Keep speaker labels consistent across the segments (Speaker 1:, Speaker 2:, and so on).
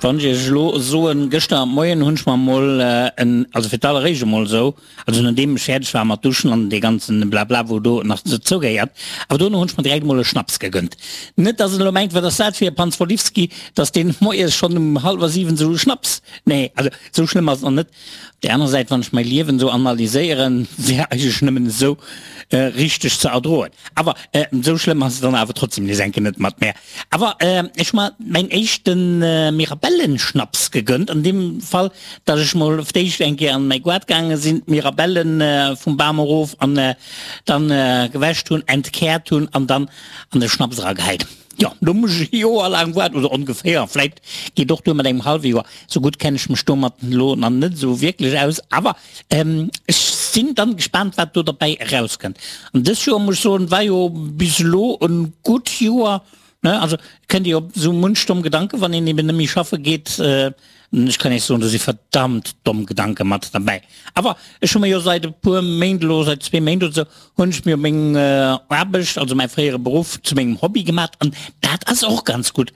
Speaker 1: Wann ech iech elo soen, gëschter Moien hunn ech mer emol en, also fir d'alleréischt emol esou, also nodeem ech fäerdeg war mat duschen an dee ganzen Blabla wou do nach dozou gehéiert, awer dono hunn ech mer direkt emol e Schnaps gegënnt. Net dass en elo mengt, wat ass dat fir e Panzwolifsky, dass deen moies schonn um hallwer 7 esou e Schnaps, nee, also esou schlëmm ass et nach net. Op där aner Säit, wann ech mäi Liewen esou analyséieren, wär eigentlech nëmmen esou richteg ze erdroen. Awer esou schlëmm ass et dann awer trotzdem nees enke net mat mär. Awer ech hu mer mäin éischte Mirabellenschnaps gegönnt, an deem Fall, dass ech mol op d'éischt eng Kéier an mäi Goart gaange sinn, d'Mirabellen vum Bam erof an dann gewäscht hunn, entkäert hunn an dann an de Schnaps eragehäit. Jo, do muss ech e Joer laang waarden, oder ongeféier, vläit geet och duer mat engem hallwe Joer, sou gutt kenne ech mech domat elo nach net esou wierklech aus, awer ech sinn dann gespaant wat do derbäi erauskënnt. An dës Joer muss ech soen, war jo bis elo e gutt Joer, ne, also kënnt ee op esou munch domm Gedanken, wann een eben net méi schaffe geet. Ech kann Iech soen, do si verdammt domm Gedanke mat derbäi. Awer ech hu mir jo seit e puer Méint elo, seit zwee Méint oder sou, hunn ech mir meng Aarbecht, also mäi fréiere Beruff, zu mengem Hobby gemat an dat ass och ganz gutt.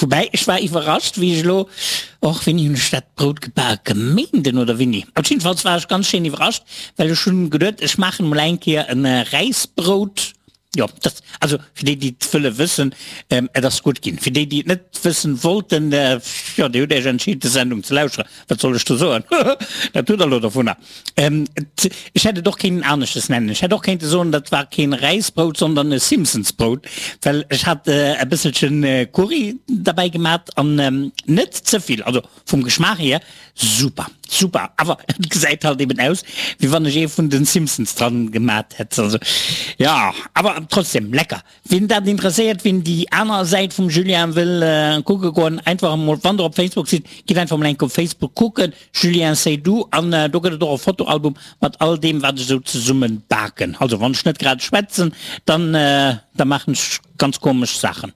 Speaker 1: Woubäi, ech war iwwerrascht, wéi ech elo, och wéini hunn ech dat Brout gebak, e Méinden oder wéini? Op jiddefalls war ech ganz schéin iwwerrascht, well ech hunn geduet, ech maachen emol eng Kéier e Räisbrout. Jo, dat, also fir déi, déi et wëlle wëssen, et ass gutt ginn. Fir déi, déi et net wëssen wollten, jo, dir hutt Iech entscheet, des Sendung ze lauschteren. Wat soll ech do soen? Dat hutt der elo dovunner. Et, ech hätt et och kéinten aneschtes nennen. Ech hätt och kéinte soen, dat war keen Räisbrout, sondern e Simpsonsbrout, well ech hat e bësselchen Curry derbäi gemat an net ze vill, also Vum Geschmaach hier super, super, awer et gesäit halt eben aus wéi wann ech ee vun den Simpsons dran gemat hätt, also jo, awer trotzdem lecker. Ween dat interesséiert, ween déi aner Säit vum Julien wëll kucke goen, einfach emol, wann der op Facebook sidd, gitt einfach emol eng Kéier op Facebook kucken, Julien Seydoux, an do gëtt et och e Fotoalbum mat all deem wat ech esou zesummen baken. Also wann ech net grad schwätzen, dann da maachen ech ganz komesch Saachen.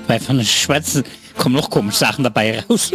Speaker 1: Well wann ech schwätzen, kommen och komesch Saachen derbäi eraus.